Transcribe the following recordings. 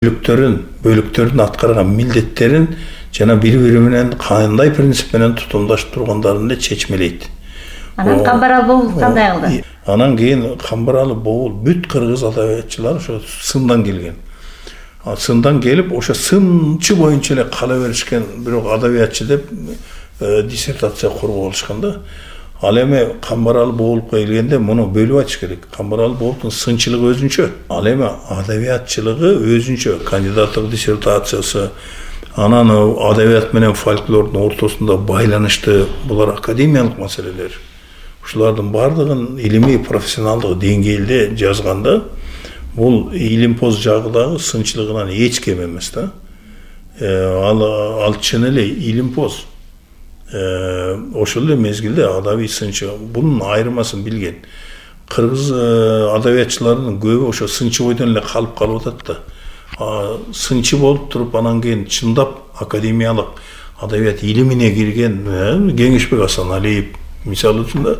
бөлүктөрдүн аткарган милдеттерин жана бири-бири менен кандай принцип менен тутумдашып тургандарын эле чечмелейт. Анан Камбарал Бобул кандай кылды? Анан кийин Камбарал Бобул бүт кыргыз адабиятчылар ошо сындан келген. Сындан келип, ошо сынчы боюнча эле кала беришкен, бирок адабиятчы деп диссертация куруп алышкан да. Ал эми Камбарал Бобулга келгенде муну бөлүп айтыш керек. Камбарал Бобулдун сынчылыгы өзүнчө, ал эми адабиятчылыгы өзүнчө, кандидаттык диссертациясы, анан адабият менен фольклордун ортосунда байланышты, булар академиялык маселелер. Ушулардын бардыгын илимий профессионалдык деңгээлде жазганда, бул илимпоз жагыдагы сынчылыгынан эч кем эмес да. Ал чын эле илимпоз. Ошол эле мезгилде адабий сынчы бунун айырмасын билген. Кыргыз адабиятчыларынын көбү ошо сынчы бойдон эле калып атат да. Сынчы болуп туруп анан кийин чындап академиялык адабият илимине кирген Кеңешбек Асаналиев мисалы үчүн да,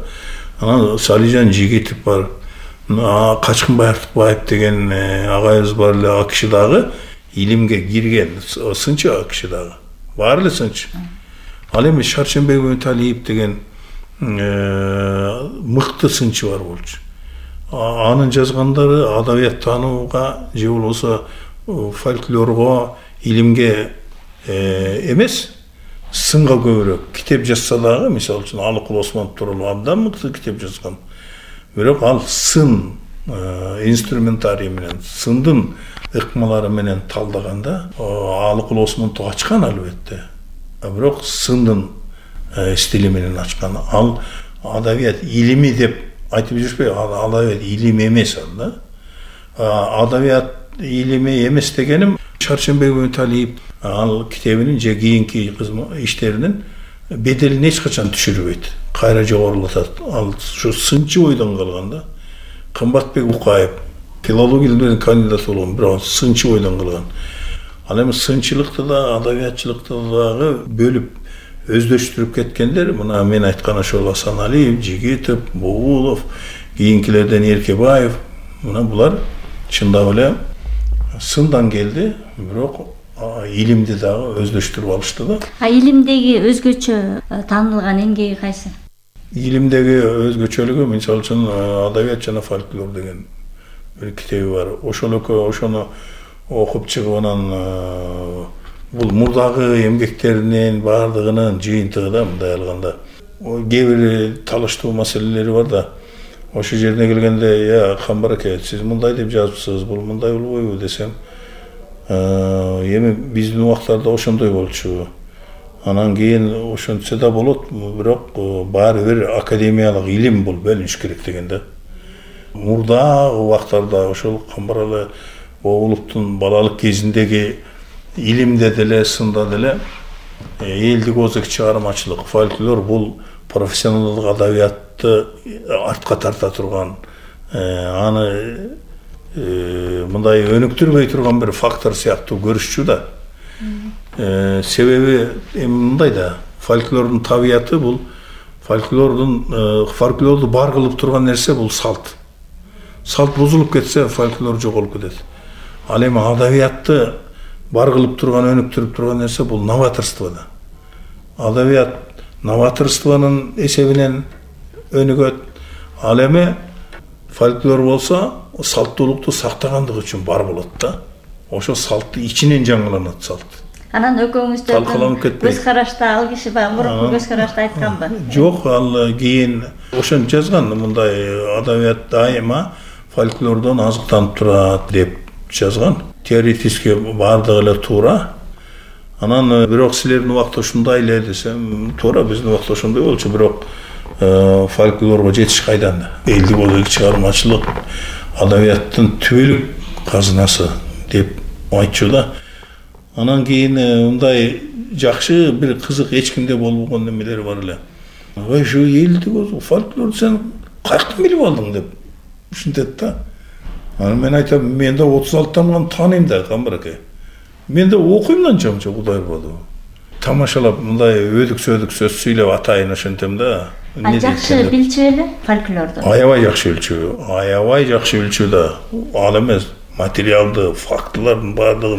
анан Салижан Жигитов бар, Качкынбай Артыкбаев деген агайыбыз бар эле, ал киши дагы илимге кирген, сынчы ал киши дагы. Баары эле сынчы. Ал эми Шаршенбек Өталиев деген мыкты сынчы бар болчу. Анын жазгандары адабият таанууга же болбосо фольклорго, илимге эмес, сынга көбүрөөк китеп жазса дагы, мисалы үчүн Алыкул Осмонов тууралуу абдан мыкты китеп жазган. Бирок ал сын инструментарий менен, сындын ыкмалары менен талдаганда Алыкул Осмонов ачкан албетте. Бирок сындын стили менен ачкан. Ал адабият илими деп айтып жүрбөй, адабият илим эмес ал да. Адабият илими эмес дегеним Шаршенбек Өталиев ал китебинин же кийинки иштеринин беделин эч качан түшүрбөйт. Кайра жогорулатат. Ал ушу сынчы бойдон калган да. Кымбатбек Укаев филологияден кандидат болгон, бирок сынчы бойдон калган. Ал эми сынчылыкты да, адабиятчылыкты дагы бөлүп өздөштүрүп кеткендер, мына мен айткан ошол Асаналиев, Жигитов, Бобулов, кийинкилерден Эркебаев, мына булар чындап эле сындан келди, бирок илимди дагы өздөштүрүп алышты да. Илимдеги өзгөчө таанылган эмгеги кайсы? Илимдеги өзгөчөлүгү, мисалы үчүн адабият жана фольклор деген бир китеби бар. Ошону окуп чыгып анан бул мурдагы эмгектеринин баардыгынын жыйынтыгы да, мындай алганда. Кээ бир талаштуу маселелери бар да. Ошол жерине келгенде, Камбар аке, сиз мындай деп жазыпсыз, бул мындай болбойбу десем, эми биздин убактарда ошондой болчу. Анан кийин ошентсе да болот, бирок баары бир академиялык илим бул бөлүнүш керек деген да. Мурда убактарда ошол Камбаралы Бобуловдун балалык кезиндеги илимде деле, сында деле элдик озак чыгармачылык, фольклор бул профессионалдык адабиятты артка тарта турган, аны мындай өнүктүрбөй турган бир фактор сыяктуу көрүшчү да. Себеби мындай да, фольклордун табияты бул фольклорду бар кылып турган нерсе бул салт. Салт бузулуп кетсе, фольклор жоголуп кетет. Ал эми адабиятты бар кылып турган, өнүктүрүп турган нерсе бул новаторство да. Адабият новаторствонун эсебинен өнүгөт. Ал эми фольклор болсо салттуулукту сактагандыгы үчүн бар болот да. Ошо салтты ичинен жаңыланат салт. Анан экөөңүздөрдүн көз карашта ал киши мурунку көз карашта айтканбы? Жок, ал кийин ошентип жазган, мындай адабият дайыма фольклордон азыктанып турат деп жазган. Теоретически бардыгы эле туура. Анан бирок силердин убакта ушундай эле десем, туура, биздин убакта ошондой болчу, бирок фольклорго жетиш кайдан? Элдик озак чыгармачылык, адабияттын түбөлүк казынасы деп айтчу да. Анан кийин мындай жакшы бир кызык эч кимде болбогон немелер бар эле. Ушу элдик озак фольклор сен каяктан билип алдың деп ушинтет да. Анан мен айтам, мен да 36-тан тааныйм да, Камбар аке. Мен да окуйм да анча Кудай ырбады. Тамашалап мындай өдүк-сөдүк сөз сүйлөп атайын ошентем да. Жакшы билчү эле фольклорду. Аябай жакшы билчү да. Ал эмес, материалды фактылардын баардыгы